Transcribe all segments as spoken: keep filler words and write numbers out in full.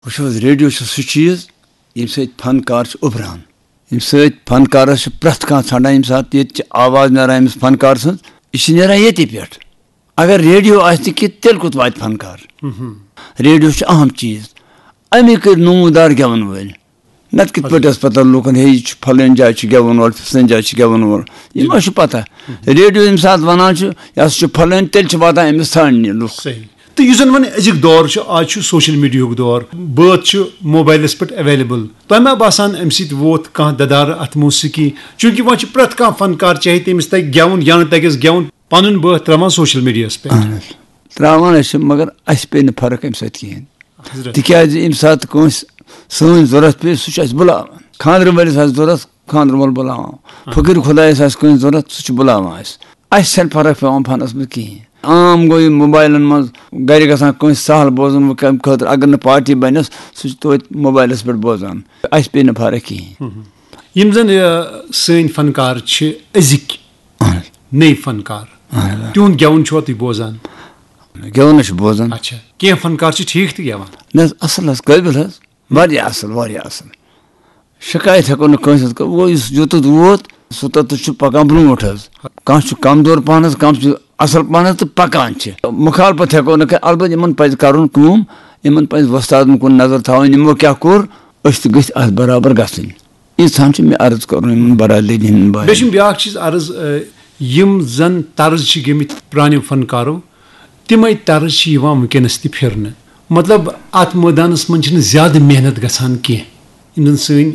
وٕچھِو حظ، ریڈیو چھُ سُہ چیٖز، ییٚمہِ سۭتۍ فنکار چھُ اُبران، ییٚمہِ سۭتۍ فنکارَس چھُ پرٛٮ۪تھ کانٛہہ ژھانٛڈان، ییٚمہِ ساتہٕ ییٚتہِ چھِ آواز نیران أمِس فنکار سٕنٛز، یہِ چھِ نیران ییٚتی پٮ۪ٹھ۔ اگر ریڈیو آسہِ نہٕ کینٛہہ، تیٚلہِ کوٚت واتہِ فنکار؟ ریڈیو چھُ اہم چیٖز، اَمی کٔرۍ نموٗدار گٮ۪وَن وٲلۍ۔ نَتہٕ کِتھ پٲٹھۍ ٲس پَتہ لوٗکَن، ہے، یہِ چھُ پھلٲنۍ جایہِ چھُ گٮ۪وَن وول، فِستٲنۍ جایہِ چھُ گٮ۪وَن وول؟ یہِ ما چھُ پَتہ؟ ریڈیو ییٚمہِ ساتہٕ وَنان چھُ، یہِ ہسا چھُ پھلٲنۍ، تیٚلہِ چھِ واتان أمِس ژھانٛڈنہِ لُکھ۔ صحیح۔ تہٕ یُس زَن وۄنۍ أزیُک دور چھُ، آز چھُ سوشل میڈیاہُک دور، بٲتھ چھُ موبایلَس پٮ۪ٹھ اویلیبل۔ تۄہہِ ما باسان، اَمہِ سۭتۍ ووت کانٛہہ دَدارٕ اَتھ موسیقی؟ چوٗنٛکہِ وۄنۍ چھُ پرٛٮ۪تھ کانٛہہ فنکار، چاہے تٔمِس تَگہِ گٮ۪وُن یا نہٕ تَگٮ۪س گٮ۪وُن، پَنُن بٲتھ ترٛاوان سوشل میڈیاہَس پٮ۪ٹھ۔ اہن حظ۔ ترٛاوان ٲسۍ، مگر اَسہِ پیٚیہِ نہٕ فرق اَمہِ سۭتۍ کِہیٖنۍ۔ حضرت۔ تِکیٛازِ ییٚمہِ ساتہٕ کٲنٛسہِ سٲنۍ ضوٚرَتھ پیٚیہِ، سُہ چھُ اَسہِ بُلاوان۔ خانٛدرٕ وٲلِس آسہِ ضوٚرَتھ، خانٛدرٕ وول بُلاوان۔ فقیٖر خۄدایَس آسہِ کٲنٛسہِ ضوٚرَتھ، سُہ چھُ بُلاوان اَسہِ۔ اَسہِ چھَنہٕ فرق پٮ۪وان فنَس منٛز کِہیٖنۍ۔ عام گوٚو یہِ موبایلَن منٛز، گَرِ گژھان کٲنٛسہِ سہل بوزُن، وۄنۍ کَمہِ خٲطرٕ، اگر نہٕ پارٹی بَنٮ۪س، سُہ چھُ توتہِ موبایلَس پٮ۪ٹھ بوزان۔ اَسہِ پیٚیہِ نہٕ فرق کِہیٖنۍ۔ یِم زَن، یہِ، سٲنۍ فنکار چھِ أزِکۍ اہن حظ۔ نٔے فنکار، اہن حظ۔ تِہُنٛد گٮ۪وُن چھُوا تُہۍ بوزان؟ گٮ۪وُن حظ چھُ بوزان۔ اچھا، کینٛہہ فنکار چھِ ٹھیٖک تہِ گٮ۪وان۔ نہ حظ، اصل حظ، قٲبِل حظ، واریاہ اصل، واریاہ اصل۔ شکایت ہٮ۪کو نہٕ کٲنٛسہِ ہٕنٛز کٔرِتھ، وۄنۍ یُس یوٚتَتھ ووت، سُہ توٚتَتھ چھُ پکان برونٛٹھ حظ۔ کانٛہہ چھُ کمزور پہن حظ، کانٛہہ چھُ اصل پہن حظ تہٕ پکان چھِ۔ مخالفت ہٮ۪کو نہٕ کٔرِتھ، البتہ یِمن پزِ کرُن کٲم، یِمن پزِ وۄستادن کُن نظر تھاوٕنۍ، یِمو کیٛاہ کوٚر، أسۍ تہِ گٔژھۍ اتھ برابر گژھٕنۍ۔ ییٖژہن چھِ مےٚ عرض کرُن یِمن برادری ہٕنٛدٮ۪ن بایَن۔ بیٚیہِ چھُم بیٛاکھ چیٖز عرض، آ، یِم زن طرز چھِ گٔمٕتۍ پرٛانیو فنکارو، تِمے طرز چھِ یِوان وٕنکیٚنس تہِ پھِرنہٕ۔ مطلب، اتھ مٲدانس منٛز چھِنہٕ زیادٕ محنت گژھان کینٛہہ۔ یِم زن سٲنۍ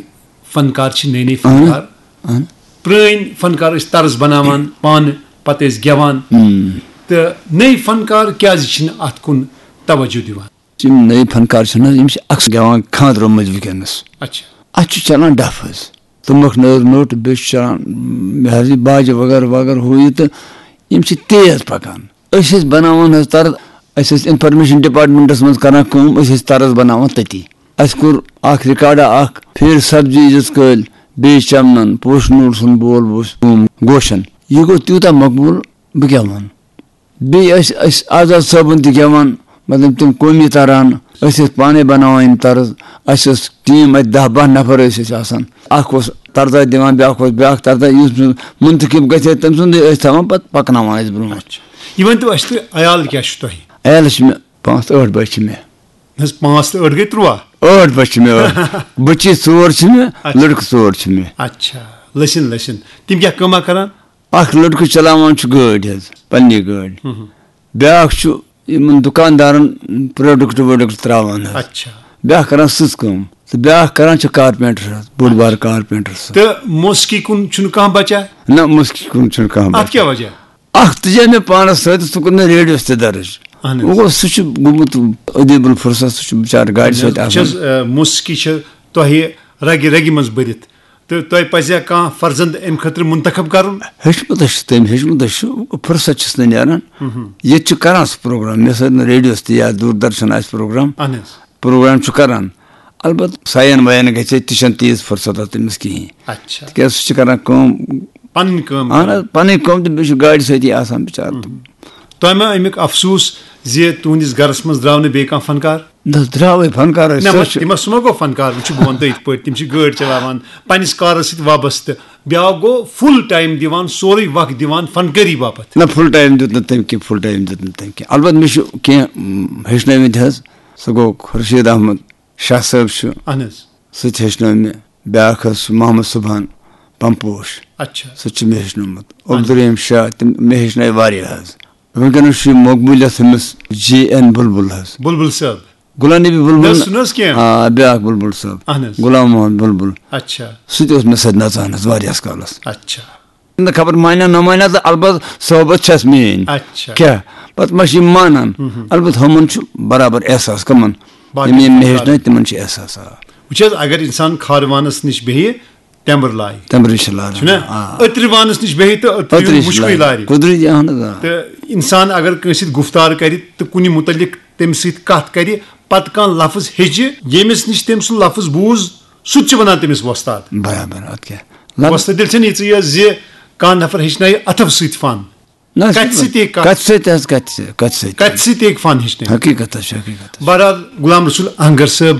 فنکار چھِ، نٔے نٔے اہن، فنکار، اہن۔ پرٛٲنۍ فنکار ٲسۍ طرز بناوان پانہٕ، پتہٕ ٲسۍ گٮ۪وان۔ ہم۔ تہٕ نٔے فنکار کیٛازِ چھِنہٕ اتھ کُن توجہ دِوان؟ یِم نٔے فنکار چھِنہٕ حظ، یِم چھِ اکثر گٮ۪وان خانٛدرو مٔنٛزۍ وٕنکیٚنَس۔ اچھا۔ اَتھ چھُ چلان ڈَف حظ، تُمبَکھ نٲر نوٚٹ، بیٚیہِ چھُ چلان، م، یہِ حظ یہِ باجہِ وغٲرٕ وغٲرٕ ہُہ یہِ، تہٕ یِم چھِ تیز پَکان۔ أسۍ ٲسۍ بَناوان حظ طرز، أسۍ ٲسۍ اِنفارمیشَن ڈِپارٹمنٹَس منٛز کَران کٲم، أسۍ ٲسۍ طرز بَناوان تٔتی۔ اَسہِ کوٚر اَکھ رِکارڈا اَکھ، پھیٖر سبزی عزت کٲلۍ، بیٚیہِ چَمنَن، پوشہٕ نوٗر سُنٛد بول اوس، کٲم گوشَن۔ یہِ گوٚو تیوٗتاہ مقبوٗل، بہٕ کیٛاہ وَنہٕ۔ بیٚیہِ ٲسۍ أسۍ آزاد صٲبُن تہِ گٮ۪وان، مطلب تِم قومی تران، أسۍ ٲسۍ پانَے بَناوان یِم طرز۔ اَسہِ ٲس ٹیٖم اَتہِ دَہ باہ نفر ٲسۍ أسۍ آسان۔ اَکھ اوس طرزا دِوان، بیٛاکھ اوس بیٛاکھ طرزا، یُس منتخب گژھِ ہے، تٔمۍ سُنٛدٕے ٲسۍ تھاوان پَتہٕ پَکناوان ٲسۍ برٛونٛہہ۔ اچھا۔ یہِ ؤنۍ تو اَسہِ تُہۍ، عیال کیٛاہ چھُ تۄہہِ؟ عیالَس چھِ مےٚ پانٛژھ ٲٹھ بَچہِ چھِ مےٚ۔ نہ حظ، پانٛژھ تہٕ ٲٹھ گٔے تُرٛواہ۔ ٲٹھ بَچہِ چھِ مےٚ، ٲٹھ۔ بٔچی ژور چھِ مےٚ، اچھا۔ لٔڑکہٕ ژور چھِ مےٚ۔ اچھا، لٔسِن لٔسِن۔ تِم کیٛاہ کٲمہ کران؟ اکھ لڑکہٕ چلاوان چھُ گٲڑۍ حظ، پننی گٲڑۍ۔ ہُم۔ بیٛاکھ چھُ یِمن دُکاندارن پروڈکٹ ووڈکٹ تراوان حظ۔ اچھا۔ بیٛاکھ کران سٕژ کٲم تہٕ بیٛاکھ کران چھُ کارپینٹر حظ، بوٚڑ بار کارپینٹر سُہ۔ تہٕ موسیقی کُن چھُنہٕ کانٛہہ بچہ؟ نہ، موسیقی کُن چھُنہٕ کانٛہہ اَتھ بچہ۔ کیٛاہ وجہ؟ اکھ تُجے مےٚ پانس سۭتۍ، سُہ کوٚر مےٚ ریڈیوس تہِ درٕج۔ اہن حظ۔ وۄنۍ گوٚو، سُہ چھُ گوٚمُت ادیب الفرصت، سُہ چھُ بچارٕ گاڑِ سۭتۍ وٕچھ آسان۔ حظ، آ، موسیقی چھِ تۄہہِ رگہِ رگہِ منٛز بٔرِتھ۔ تہٕ تۄہہِ پزِ ہا کانٛہہ فرزند امہِ خٲطرٕ منتخب کرُن؟ ہیٚچھمُت حظ چھُ تٔمۍ، ہیٚچھمُت حظ چھُ، فرصت چھُس نہٕ نیران۔ ہُم۔ ییٚتہِ چھُ کران سُہ پروگرام، مےٚ سۭتۍ نہٕ ریڈیوس تہِ یا دوٗردرشن آسہِ پروگرام۔ اہن حظ۔ پروگرام چھُ کران۔ البتہ ساین واین گژھِ ہے، تہِ چھَنہٕ تیٖژ فرصت آسان تٔمِس کِہیٖنۍ۔ اچھا۔ تِکیٛازِ سُہ چھُ کران کٲم۔ پنٕنۍ کٲم اہن کران۔ حظ، پنٕنۍ کٲم تہٕ بیٚیہِ چھُ گاڑِ سۭتی آسان بِچارٕ۔ ہُم۔ تۄہہِ ما امیُک افسوٗس زِ تُہنٛدِس گرس منٛز درٛاو نہٕ بیٚیہِ کانٛہہ فنکار؟ نہ حظ، درٛاوٕے فنکار ٲسۍ، نہ، سُہ مہ-، چھُ تِم ہا، سُہ ما گوٚو فنکار؟ وٕچھ، بہٕ وَنہٕ تۄہہِ یِتھ پٲٹھۍ، تِم چھِ گٲڑۍ چلاوان، پننِس کارس سۭتۍ وابستہٕ۔ بیٛاکھ گوٚو فُل ٹایم دِوان، سورُے وقت دِوان فنکٲری باپتھ۔ نہ، فُل ٹایم دیُت نہٕ تٔمۍ کینٛہہ، فُل ٹایم دیُت نہٕ تٔمۍ کینٛہہ۔ البتہ مےٚ چھُ کینٛہہ، م، ہیٚچھنٲومٕتۍ حظ۔ سُہ گوٚو خورشید احمد شاہ صٲب چھُ۔ اہن حظ۔ سُہ تہِ ہیٚچھنٲو مےٚ۔ بیٛاکھ حظ چھُ محمد سبحان پمپوش۔ اچھا۔ سُہ تہِ چھُ مےٚ ہیٚچھنومُت۔ عبدالرحیم شاہ، تِم مےٚ ہیٚچھنٲے واریاہ حظ۔ وٕنکیٚنَس چھُ یہِ مقبوٗلیت ہُمِس جے این بُلبُل حظ۔ بُلبُل صٲب۔ غلام نبی بُلبُل۔ نہ، سُہ نہ حظ کینٛہہ۔ آ، بیٛاکھ بُلبُل صٲب۔ اہن حظ۔ غلام محمد بُلبُل۔ اچھا۔ سُہ تہِ اوس مےٚ سۭتۍ نژان حظ واریاہَس کالَس۔ اچھا۔ نہ خبر مانیٛا نہ مانیٛا، تہٕ البتہ صحبت چھَس میٛٲنۍ۔ اچھا۔ کیٛاہ؟ پَتہٕ ما چھِ یِم مانان؟ ہُم ہُم۔ البتہ ہُمَن چھُ برابر احساس کَمَن؟ باقٕے یِم یِم مےٚ ہیٚچھنٲے، تِمَن چھُ احساس، آ۔ وٕچھ حظ، اگر اِنسان کھارٕ وانَس نِش بیٚہہِ، تٮ۪مبٕر لایہِ۔ تٮ۪مبٕرِ چھِ لاران، چھُنہ؟ آ۔ أترِ وانَس نِش بیٚہہِ تہٕ أترِ أترِ چھِ مُشکٕے لاران۔ لارِ۔ قُدرٔتی، اہن حظ، آ۔ تہٕ اِنسان اگر کٲنٛسہِ سۭتۍ گُفتار کَرِ تہٕ کُنہِ مُتعلِق تٔمِس سۭتۍ کَتھ کَرِ، پَتہٕ کانٛہہ لفظ ہیٚچھِ، ییٚمِس نِش تٔمۍ سُنٛد لفظ بوٗز، سُہ تہِ چھُ وَنان تٔمِس وۄستاد۔ برابر، اَدٕ کیٛاہ؟ لگ- وۄستاد، تیٚلہِ چھَنہٕ یہِ ژٕے یٲژ زِ کانٛہہ نفر ہیٚچھنایہِ اَتھو سۭتۍ فن۔ نہ، کتہِ سۭتۍ ہیٚکہِ کتھ؟ کتہِ سۭتۍ حظ، کتہِ سۭتۍ، کتہِ سۭتۍ؟ کتہِ سۭتۍ ہیٚکہِ فن ہیٚچھنٲوِتھ؟ حقیقت حظ چھِ، حقیقت حظ چھِ۔ بہرحال، غلام رسول اہنگر صٲب،